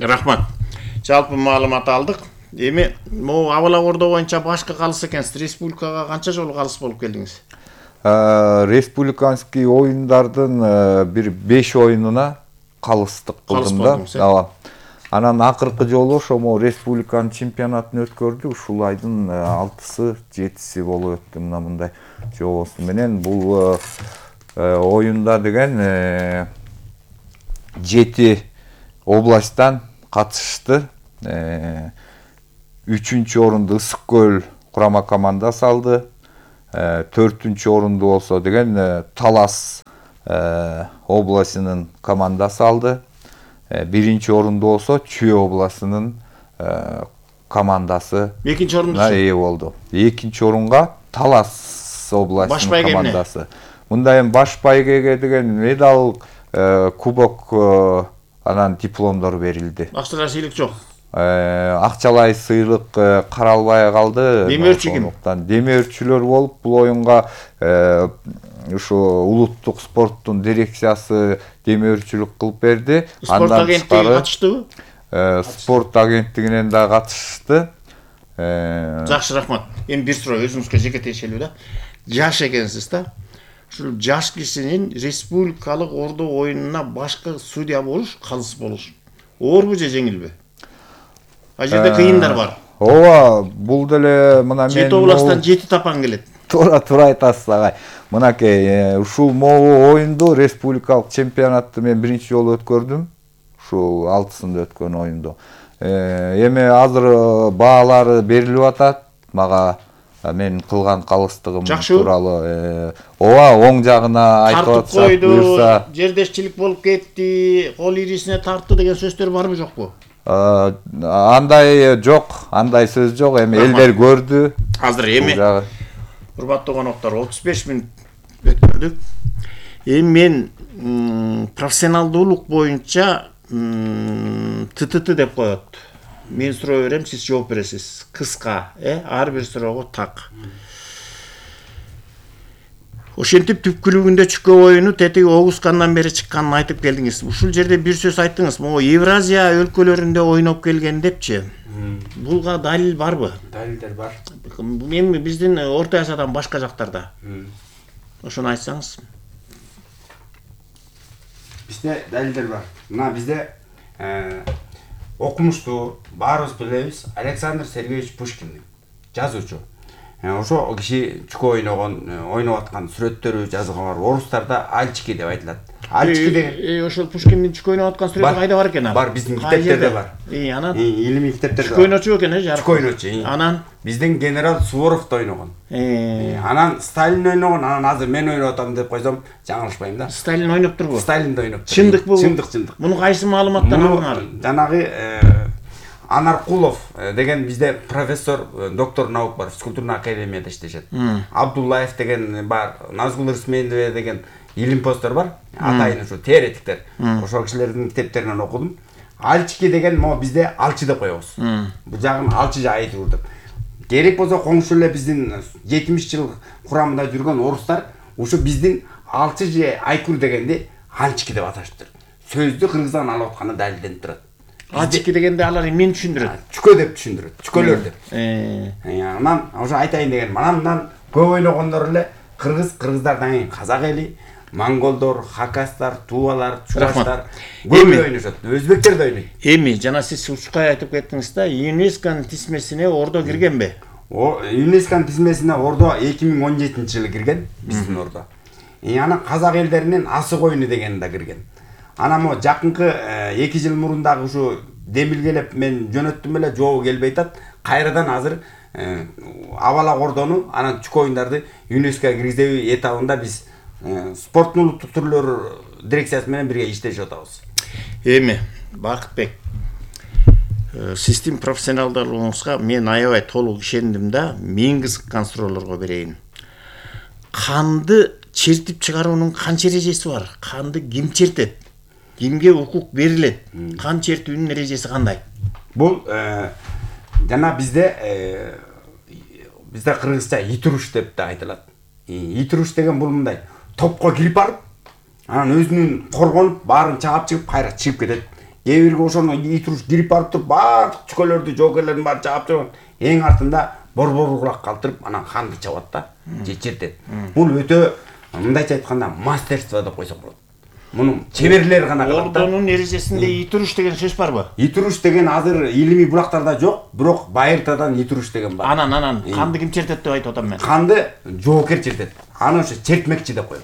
Рахмат. Жалпы маалымат алдык. Эми могу абала Ордо боюнча башка калыс экенсиз. Республикага канча жолу калыс болуп келдиңиз? Республиканский оюндардын бир 5 оюнуна калыстык кылдым да. Ооба. Анан акыркы жолу ошо республиканын чемпионатын өткөрдүк. Ушул айдын 6-7 болуп өттү мындай жобосу менен. Бул оюнда деген 7 областтан катышты. 3-чү орунду Ысык Көл курама командасы алды. 4-чү орунду болсо деген Талас областынын командасы алды. 1-чи орунду болсо Чүй областынын командасы 2-чи орунду ээ болду. 2-чи орунга Талас областынын командасы. Мында эми баш байгеге деген медаль, кубок, анан дипломдор берилди. Акчалай сыйлык жок. Акчалай сыйлык каралбай калды. Демөөрчү ким? Демөөрчүлөр болуп бул оюнга ушу улуттук спорттун дирекциясы демөөрчүлүк кылып берди. Спорт агенттиги катыштыбы? Спорт агенттигинен да катышты. Жакшы, рахмат. Эми бир суроо өзүңүзгө жеке тиешелүү да. Жаш экенсиз да. Ушул жаш кишинин республикалык ордо оюнуна башкы судья болуш, калыс болуш оорбу же жеңилби? Ал жерде кыйындар бар. Ооба, бул деле мына мен 7 областан 7 тапан келет. Туура айтасыз агай. Мынакей ушул могу оюнду республикалык чемпионатты мен биринчи жолу өткөрдүм. Ушул 6-сында өткөн оюнду. Эми азыр баалары берилип атат. Мага мен кылган калыстыгым тууралуу ооба оң жагына айтып атсак буюрса, жердешчилик болуп кетти, кол ирисине тартты деген сөздөр барбы жокпу? Андай жок, андай сөз жок. Эми элдер көрдү. Азыр эми урматтуу коноктор 35 мүнөт өткөрдүк. Эми мен профессионалдуулук боюнча ТТТ деп коет. Мен суроо берем, сиз жооп бересиз. Кыска, ар бир суроого так. Ошентип түпкүлүгүндө чүкө оюну тетиги Огускандан бери чыкканын айтып келдиңиз. Ушул жерде бир сөз айттыңыз. Могу Евразия өлкөлөрүндө ойноп келген депчи. Булга далил барбы? Далилдер бар. Эми биздин Орто Азиядан башка жактарда. Ошону айтсаңыз. Бизде далилдер бар. Мына бизде окумуштуу, баарыбыз билебиз, Александр Сергеевич Пушкин, жазуучу. Ошо киши чүкө ойноп аткан сүрөттөрү жазылган бар. Орустарда альчики деп айтылат. Альчики деген ошол Пушкиндин чүкө ойноп аткан сүрөтү кайда бар экен? Бар, биздин китептерде бар. Анан илимий китептерде. Чүкө ойночу экен, Чүкө ойночу. Анан биздин генерал Суворов да ойногон. Анан Сталин ойногон, анан азыр мен ойноп атам деп койсом, жаңылышпайм да. Сталин ойноп турбу? Сталин да ойноп. Чындык бул? Чындык. Муну кайсы маалыматтан алдыңар? Жанагы Анаркулов деген бизде профессор, доктор наук бар, физкультурный академияда иштешет. Абдуллаев деген бар, Назгул Рысмендова деген илимпоздор бар, атайын ушу теоретиктер. Ошол кишилердин китептеринен окудум. Альчики деген могу бизде алчы деп коебуз. Бул жагын алчы айтып жүрдүк. Керек болсо коңшу эле биздин 70 жыл курамында жүргөн орустар ушу биздин алчы же айкур дегенди альчики деп аташыптыр. Сөздү кыргыздан алып атканы далилденип турат. Альчики дегенде алар эмнени түшүндүрөт? Чүкө деп түшүндүрөт. Чүкөлөр деп. Анан ошо айтайын деген, манамдан көп ойногондор эле кыргыздардан кийин казак эли, монголдор, хакастар, тувалар, чуваштар көп ойношот. Өзбектер да ойнойт. Эми жана сиз Учкай айтып кеттиңиз да, ЮНЕСКОнун тизмесине Ордо киргенби? ЮНЕСКОнун тизмесине Ордо 2017-жылы кирген, биздин Ордо. Анан казак элдеринин асык оюну деген да кирген. Анан мо жакынкы 2 жыл мурундагы ушу демилгелеп мен жөнөттүм эле, жообу келбей атат. Кайрадан азыр абалак Ордону, анан чүкө оюндарды ЮНЕСКОга киргизүү этабында биз спорттун улуттук түрлөрү дирекциясы менен бирге иштешип атабыз. Эми Бакытбек, сиздин профессионалдуулугуңузга мен аябай толук ишендим да, мен кызыккан суроолорго берейин. Канды чертип чыгаруунун канча эрежеси бар? Канды ким чертет? Кимге укук берилет? Кан чертүүнүн эрежеси кандай? Бул жана бизде кыргызча итуруш деп да айтылат. Итуруш деген бул мындай: топко кирип барып, анан өзүнүн коргонуп, баарын чаап чыгып, кайра чыгып кетет. Кээ бирге ошону итуруш кирип барып туруп, баардык чүкөлөрдү, жоокерлердин баарын чаап чыгып, эң артында борбор кулак калтырып, анан канды чабат да, же чертет. Бул өтө мындайча айтканда мастерство деп койсок болот. Мунун чеберлери гана калат да. Ордонун эрежесинде итуруш деген сөз барбы? Итуруш деген азыр илимий булактарда жок, бирок Байыртадан итуруш деген бар. Анан канды ким чертет деп айтып атам мен. Канды жоокер чертет. Аны ошо чертмекчи деп коет.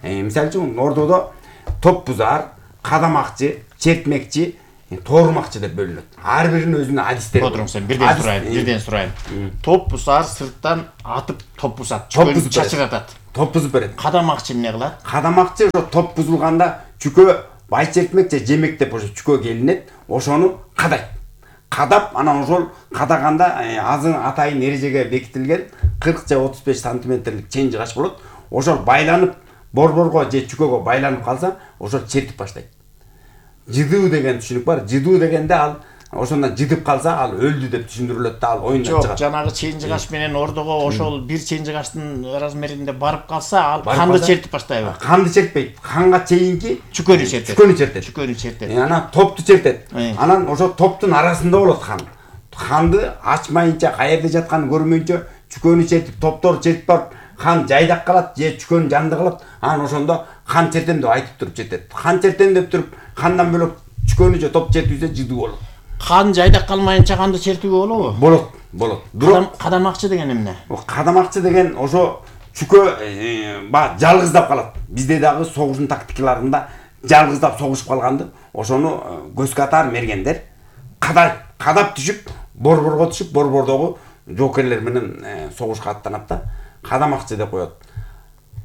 Мисалы үчүн Ордодо топ бузар, кадамакчы, чертмекчи, тоорумакчы деп бөлүнөт. Ар биринин өзүнүн адистери. Отуруңуз сен, бирден сурайын. Топ бузар, сырттан атып топ бузат, чүкөнү чачыратат. Топ бузуп берет. Кадамакчы эмне кылат? Кадамакчы ошо топ бузулганда чүкө бай чертмек же жемек деп ошо чүкөгө келинет, ошону кадайт. Кадап, анан ошол кадаганда атайын эрежеге бекитилген 40 же 35 сантиметрлик чен жыгач болот. Ошол байланып, борборго же чүкөгө байланып калса, ошол чертип баштайт. Жыдуу деген түшүнүк бар. Жыдуу дегенде ал ошондон жыдып калса, ал өлдү деп түшүндүрүлөт да, ал оюндан чыгат. Жок, жанагы чен жыгач менен Ордого ошол бир чен жыгачтын размеринде барып калса, ал канды чертип баштайбы? Канды чертпейт. Канга чейинки чүкөнү чертет. Чүкөнү чертет. Анан топту чертет. Анан ошо топтун арасында болот қан. Канды ачмайынча, каерде жатканын көрмөйүнчө чүкөнү чертип, топтору чертип барып, кан жайдак калат же чүкөнү жанды калат. Анан ошондо кан чертем деп айтып туруп чертет. Кан чертем деп туруп, кандан бөлөк чүкөнү же топ чертүүсө жыдуу болот. Қан жайдак калмайынча канды чертүүгө болобу? Болот. Кадамакчы деген эмне? Кадамакчы деген ошо чүкө жалгыздап калат. Бизде дагы согуштун тактикаларында жалгыздап согушуп калганды, ошону көз катар мергендер кадап түшүп, борборго түшүп, борбордогу жоокерлер менен согушка аттанат да, кадамакчы деп коет.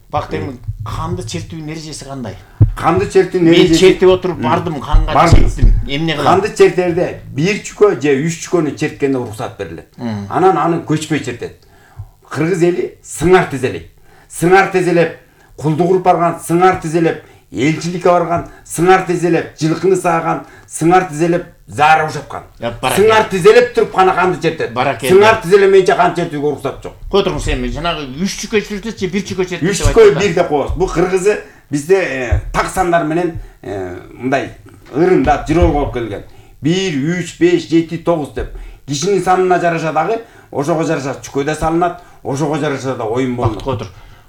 Бак эми канды чертүүнүн эрежеси кандай? Канды чертүүнүн эрежеси мен чертип отуруп бардым, канга чертим. Эмне кылам? Канды чертерде 1 чүкө же 3 чүкөнү черткенде уруксат берилет. Анан аны көчпөй чертет. Кыргыз эли сыңар тизелейт. Сыңар тизелеп, кулдук уруп барган, сыңар тизелеп, элчиликке барган, сыңар тизелеп, жылкыны сааган, сыңар тизелеп, заара ушаткан. Сыңар тизелеп туруп гана канды чертет. Сыңар тизелемейинче кан чертүүгө уруксат жок. Котуруңуз эми жанагы 3 чүкө чертет же 1 чүкө чертет? 3 чүкө 1 деп коебуз. Бул кыргызы бизде так сандар менен мындай ырымдап жырол болуп келген. 1, 3, 5, 7, 9 деп. Кишинин санына жараша дагы ошого жараша чүкө да салынат, ошого жараша да оюн болот. Котур.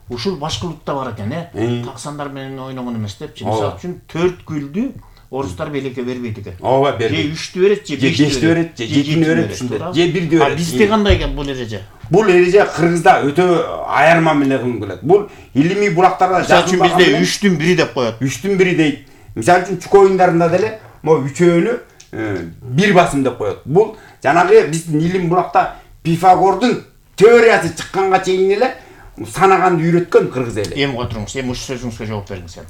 Ушул башка улутта бар экен, так сандар менен ойногон эмес депчи. Мисалы үчүн 4 гүлдү орустар белекке бербейт экен. Ооба, бербейт. Же 3-тү берет, же 5-тү берет, же 7-тү берет ушундай. Же 1-дү берет. А бизде кандай экен бул эреже? Бул эреже Кыргызда өтө аярма менен кылынып келет. Бул илимий булактарда жакын бизде 3-түн 1 деп коет. 3-түн 1 дейт. Мисалы үчүн чүкө оюндарында деле могу үчөөнү 1 басым деп коет. Бул жанагы биздин илим булакта Пифагордун теориясы чыкканга чейин эле санаганды үйрөткөн кыргыз эли. Эми отуруңуз, эми ушул сөзүңүзгө жооп бериңиз эми.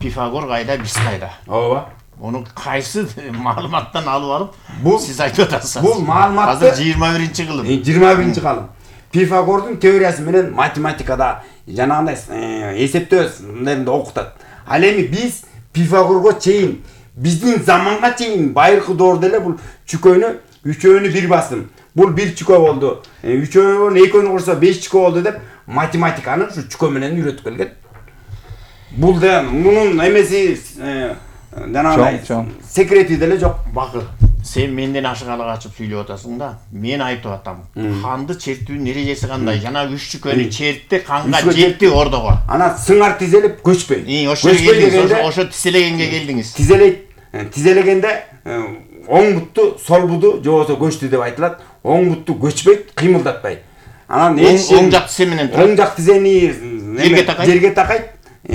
Пифагор кайда, биз кайда? Ооба. Ону кайсы маалыматтан алып бул сиз айтып атасыз. Бул маалыматты азыр 21-кылым. 21-кылым. Пифагордун теориясы менен математикада жанагындай эсептөөндөрүндө окутат. Ал эми биз Пифагорго чейин, биздин заманга чейин байыркы доордо эле бул чүкөнү үчөөнү 1 басым. Бул 1 чүкө болду. Үчөөнү 2-нү курса 5 чүкө болду деп математиканы ушу чүкө менен үйрөтүп келген. Бул да мунун эмеси жанагындай секрети деле жок. Бакы, сен менден ашыгаалык ачып сүйлөп атасың да. Мен айтып атам. Канды чертүүнүн эрежеси кандай? Жана 3 чүкөнү чертти, канга жетти ордого. Анан сыңар тизелеп көчпөй. Ошо тизелегенге келдиңиз. Тизелегенде оң бутту, сол буту же болбосо көчтү деп айтылат. Оң бутту көчпөйт, кыймылдатпайт. Анан оң жак тизе менен турат. Оң жак тизени жерге такайт.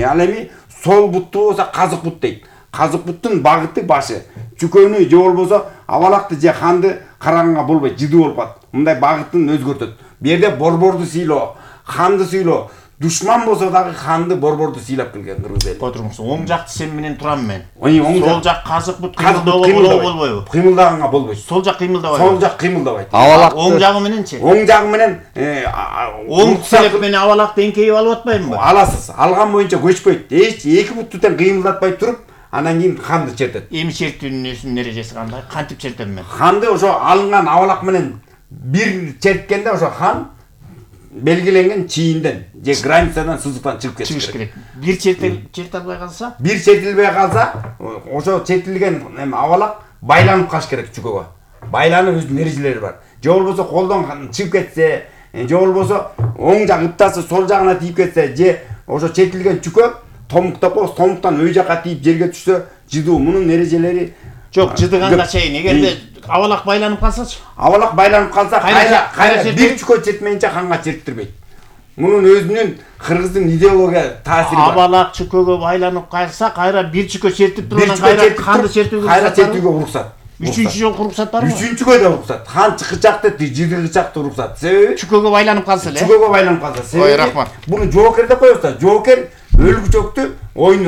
Ал эми сол бутту болсо казык бут дейт. Казык буттун багыты башы. Чүкөнү же болбосо абалакты же канды караганга болбойт, жыды болуп калат. Мындай багытын өзгөртөт. Бу жерде борборду сыйлоо, канды сыйлоо, душман болсо дагы канды борборду сыйлап келген кыргыз эли. Отуруңуз, оң жак тизем менен турам мен. Сол жак казык бут кыймылдоо болбойбу? Кыймылдаганга болбойт. Сол жак кыймылдабайт. Сол жак кыймылдабайт. Оң жагы мененчи? Оң жагы менен оң тизелеп менен абалакты эңкейип алып атпаймынбы? Аласыз. Алган боюнча көчпөйт. Эки бутту тең кыймылдатпай туруп, анан кийин канды чертет. Эми чертүүнүн эрежеси кандай? Кантип чертем мен? Канды ошо алынган абалак менен 1 черткенде ошо хан белгиленген чийинден же границадан сызыктан чыгып кетиш керек. 1 черте албай калса? 1 чертилбей калса, ошо чертилген абалак байланып калыш керек чүкөгө. Байланып өзүнүн эрежелери бар. Же болбосо колдон чыгып кетсе, же болбосо оң жак ыптасы сол жагына тийип кетсе, же ошо чертилген чүкө томук деп коебуз, томуктан өй жакка тийип жерге түшсө, жыдуу. Мунун эрежелери жок, жыдыганга чейин. Эгерде абалак байланып калсачы? Абалак байланып калса, кайра 1 чүкө чертмейинче канга чертирбейт. Мунун өзүнүн кыргыздын идеология таасири бар. Абалак чүкөгө байланып калса, кайра 1 чүкө чертип туруп, анан кайра канды чертүүгө кайра чертүүгө уруксат. 3-чү жолку уруксат барбы? 3-чүгө да уруксат. Хан чыкычакты, жыдыгычакты уруксат. Себеби чүкөгө байланып калса эле. Чүкөгө байланып калса. Ой, рахмат. Буну жоокер деп коебуз да. Жоокер өлгүчөктү ойун